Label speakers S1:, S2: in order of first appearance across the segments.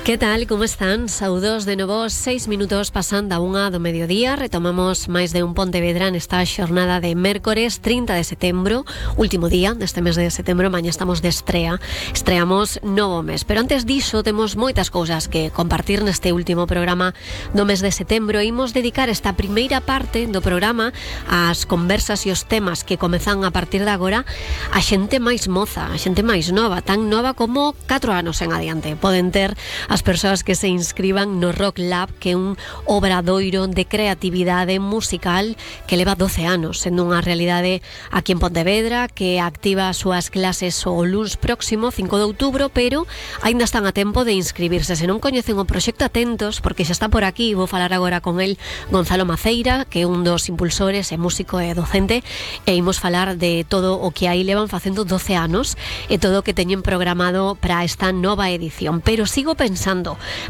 S1: Que tal, como están? Saúdos de novo, 6 minutos pasando a 1 do mediodía. Retomamos máis de un Pontevedra nesta xornada de mércores 30 de setembro, último día deste mes de setembro. Mañá estamos de estrea, estreamos novo mes, pero antes diso temos moitas cousas que compartir neste último programa do mes de setembro. Imos dedicar esta primeira parte do programa ás conversas e os temas que comezan a partir de agora a xente máis moza, a xente máis nova, tan nova como 4 anos en adiante. Poden ter as persoas que se inscriban no Rock Lab, que é un obradoiro de creatividade musical que leva 12 anos, sendo unha realidade aquí en Pontevedra, que activa as súas clases o luns próximo, 5 de outubro, pero aínda están a tempo de inscribirse. Se non coñecen o proxecto, atentos, porque xa está por aquí. Vou falar agora con el, Gonzalo Maceira, que é un dos impulsores, é músico e docente, e imos falar de todo o que aí levan facendo 12 anos e todo o que teñen programado para esta nova edición. Pero sigo pensando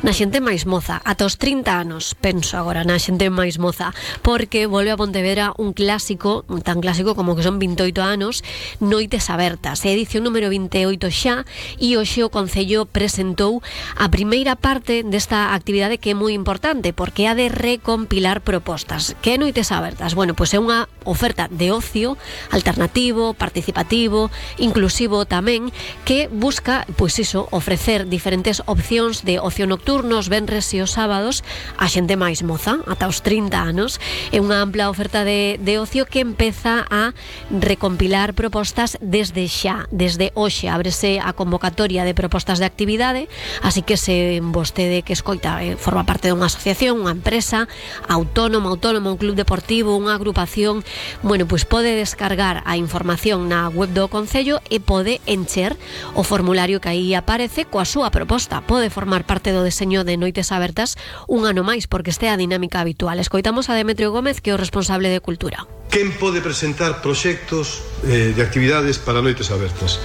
S1: na xente máis moza, ata os 30 anos penso agora na xente máis moza, porque volve a Pontevedra un clásico, tan clásico como que son 28 anos, Noites Abertas, edición número 28 xa, e hoxe o Concello presentou a primeira parte desta actividade, que é moi importante porque é a de recompilar propostas. Que é Noites Abertas? Bueno, pois é unha oferta de ocio alternativo, participativo, inclusivo tamén, que busca, pois iso, ofrecer diferentes opcións de ocio nocturno os venres e os sábados a xente máis moza, ata os 30 anos. É unha ampla oferta de ocio que empeza a recompilar propostas desde xa, desde hoxe. Ábrese a convocatoria de propostas de actividade, así que se vostede que escoita forma parte dunha asociación, unha empresa autónoma, un club deportivo, unha agrupación, bueno, pois pode descargar a información na web do Concello e pode encher o formulario que aí aparece coa súa proposta. Pode formar parte do deseño de Noites Abertas un ano máis, porque este é a dinámica habitual. Escoitamos a Demetrio Gómez, que é o responsable de Cultura.
S2: Quen pode presentar proxectos de actividades para Noites Abertas?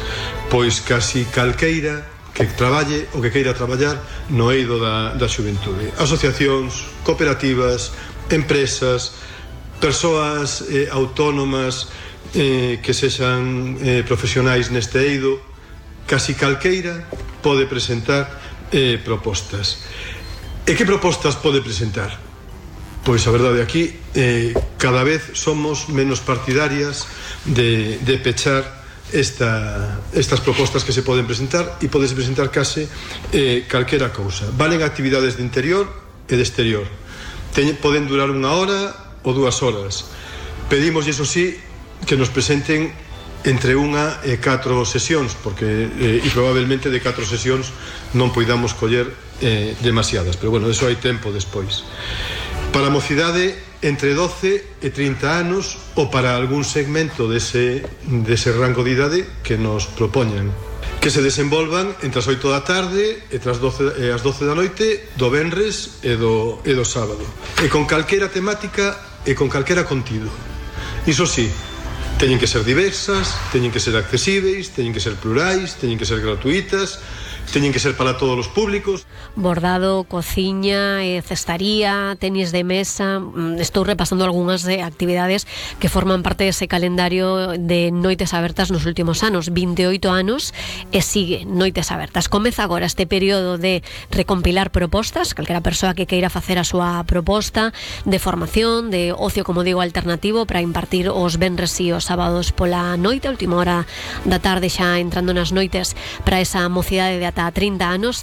S2: Pois casi calqueira que traballe ou que queira traballar no eido da xuventude. Asociacións, cooperativas, empresas, persoas autónomas que sexan profesionais neste eido. Casi calqueira pode presentar propostas. E que propostas pode presentar? Pois a verdade aquí cada vez somos menos partidarias de pechar estas propostas que se poden presentar, e podes presentar case calquera cousa. Valen actividades de interior e de exterior. Poden durar 1 hora ou 2 horas. Pedimos, iso sí, que nos presenten entre 1 e 4 sesións, porque e probablemente de 4 sesións non poidamos coller demasiadas, pero bueno, eso hai tempo despois. Para a mocidade entre 12 e 30 anos, ou para algún segmento dese rango de idade que nos propoñan, que se desenvolvan entre as 8 da tarde e as 12 da noite do venres e do sábado, e con calquera temática e con calquera contido. Iso sí, teñen que ser diversas, teñen que ser accesíveis, teñen que ser plurais, teñen que ser gratuitas, teñen que ser para todos os públicos.
S1: Bordado, cociña, cestaría, tenis de mesa. Estou repasando algunhas actividades que forman parte dese calendario de Noites Abertas nos últimos anos. 28 anos e sigue Noites Abertas. Comeza agora este período de recompilar propostas. Calquera persoa que queira facer a súa proposta de formación, de ocio, como digo, alternativo, para impartir os venres e os sábados pola noite, a última hora da tarde, xa entrando nas noites, para esa mocidade de ata 30 anos,